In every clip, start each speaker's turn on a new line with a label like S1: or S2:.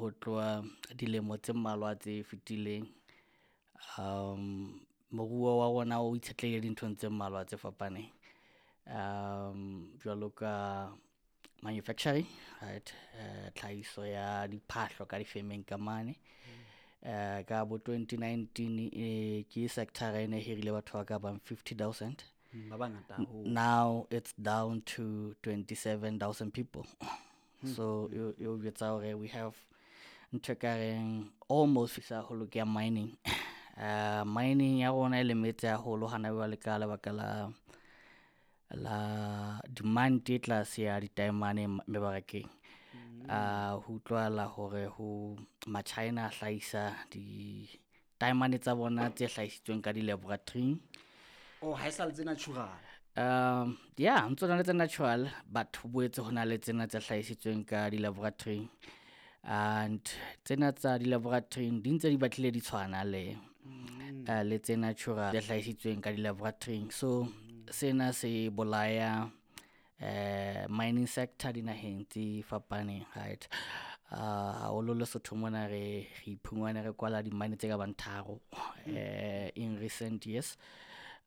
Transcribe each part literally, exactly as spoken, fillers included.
S1: Ho tloha dilemo tse mmalwa tse fetileng, um moruo wa rona o itshetlehile dinthong tse mmalwa tse fapaneng. Um jwalo ka manufacturing, right, tlhahiso ya diphahlo ka difemeng ka mane. Uh ka bo twenty nineteen e ke sector-a e ne hirile batho ba ka bang fifty thousand.
S2: Ba bangata haholo.
S1: Now it's down to twenty seven thousand people. So e o jwetsa hore we have ntho ekareng almost haholo ke ya mining. Uh mining ya rona e lemetse haholo hana jwale ka lebaka la la demand e tlase ya ditaemane mebarakeng. Uh ho utlwahala hore ho ma-China a hlahisa ditaemane tsa bona tse hlahisitsweng ka di-laboratory-ing.
S2: Oh, ha e sa le tse natural.
S1: Um ya ntso na le tse natural, but ho boetse ho na le tsena tse hlahisitsweng ka di-laboratory-ing. And tsena tsa di-laboratory-ing di ntse di batlile di tshwana le le tse natural tse hlahisitsweng ka di-laboratory-ing. So sena se bolaya mining sector dinaheng tse fapaneng, right. Haholo Lesotho mona re re iphumane re kwala di-mine tse ka bang tharo in recent years.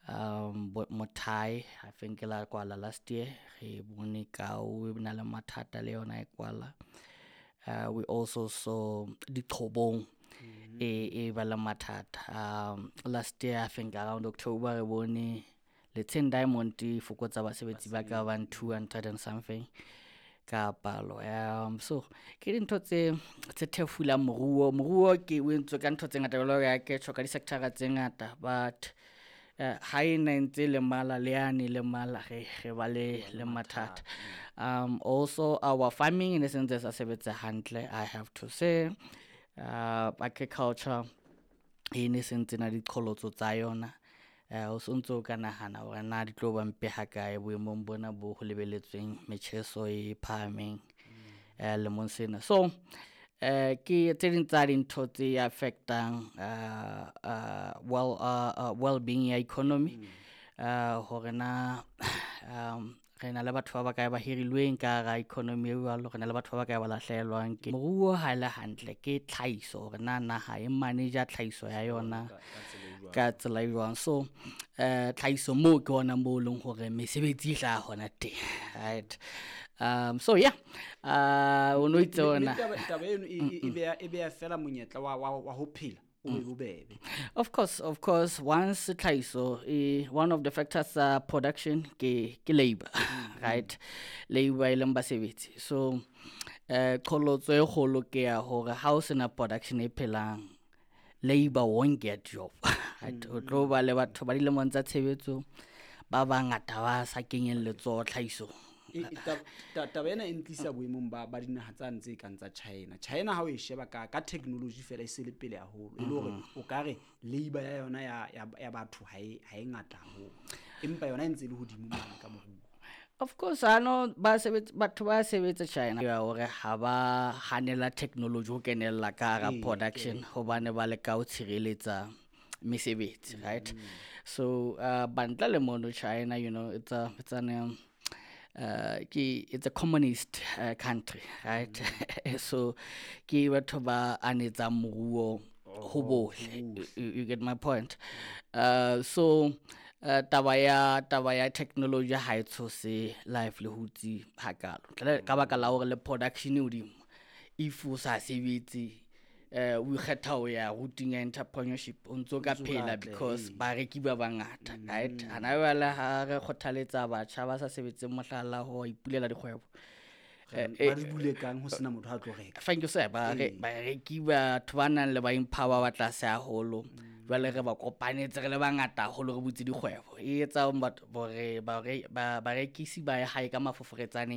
S1: Um Mothae I think e la kwala last year, re bone Kau e na le mathata le yona e kwala. Uh we also saw Diqhobong e e ba le mathata. Um last year I think around October re bone Letsheng Diamond e fokotsa basebetsi ba ka bang two hundred and something ka palo. Um so ke dintho tse tse thefulang moruo. Moruo ke o entswe ka ntho tse ngata jwalo ka ke tjho ka di-sector-a tse ngata, but ha ena e ntse lemala le yane lemala re re ba le le mathata. Um also our farming e ne sentse sa sebetsa hantle, I have to say. Uh agriculture e ne sentse na diqholotso tsa yona. O sontso o ka nahana hore na di tlo ba mpe ha kae boemong bona bo ho lebelletsweng metjheso e phahameng lemong sena. So eh ke tse ding tsa dintho tse affect-ang uh well uh well being ya economy. Uh hore na um re na le batho ba bakae ba hirilweng ka hara economy e jwalo, re na le batho ba bakae ba lahlehelwang ke moruo. Ha ele hantle ke tlhahiso hore na naha e manage-a tlhahiso ya yona ka tsela e jwang. So eh tlhahiso moo ke hona moo leng hore mesebetsi e hlaha hona teng, right. Um so yeah, uh o no itse ona
S2: taba eno e beha e beha fela monyetla wa wa ho phela o be bobebe.
S1: Of course, of course, once tlhahiso e one of the factors tsa production ke ke labor, right, labor e leng basebetsi. So eh qholotso e kgolo ke ya hore ha o sena production e phelang, labor won't get job, right. O tlo ba le batho ba dilemong tsa tshebetso ba bangata ba sa kenyeng letsoho tlhahisong.
S2: Taba ena e ntlisa boemong ba ba dinaha tsa ntse kang tsa China. China ha o e sheba ka ka technology fela e se le pele haholo, e le hore o ka re labor ya yona ya ya batho ha e ha e ngata haholo, empa yona e ntse e le hodimo mane ka moruo.
S1: Of course, ano ba sebetsa batho ba sebetsa China ya hore ha ba hanela technology ho kenella ka hara production hobane ba leka ho tshireletsa mesebetsi, right. So uh bantla le mono China, you know, it's a it's an um, uh ke it's a communist uh, country, right. So ke batho ba anetsang moruo ho bohle, you get my point. Uh so uh, taba ya taba ya technology ha e tshose livelihoods hakalo ka baka la hore le production e hodimo. If o sa sebetse eh o ikgetha ho ya routing ya entrepreneurship, o ntso ka phela because bareki ba bangata, right. Hana jwale ha re kgothaletsa batjha ba sa sebetseng mohlala ho ipulela dikgwebo,
S2: ba di bule kang ho sena motho a tlo reka.
S1: Thank you sir. Ba re bareki batho ba nang le buying power ba tlase haholo, jwale re ba kopanetse re le bangata haholo re butse dikgwebo, e etsa batho hore ba bareki ba ye hae ka mafoforetsane.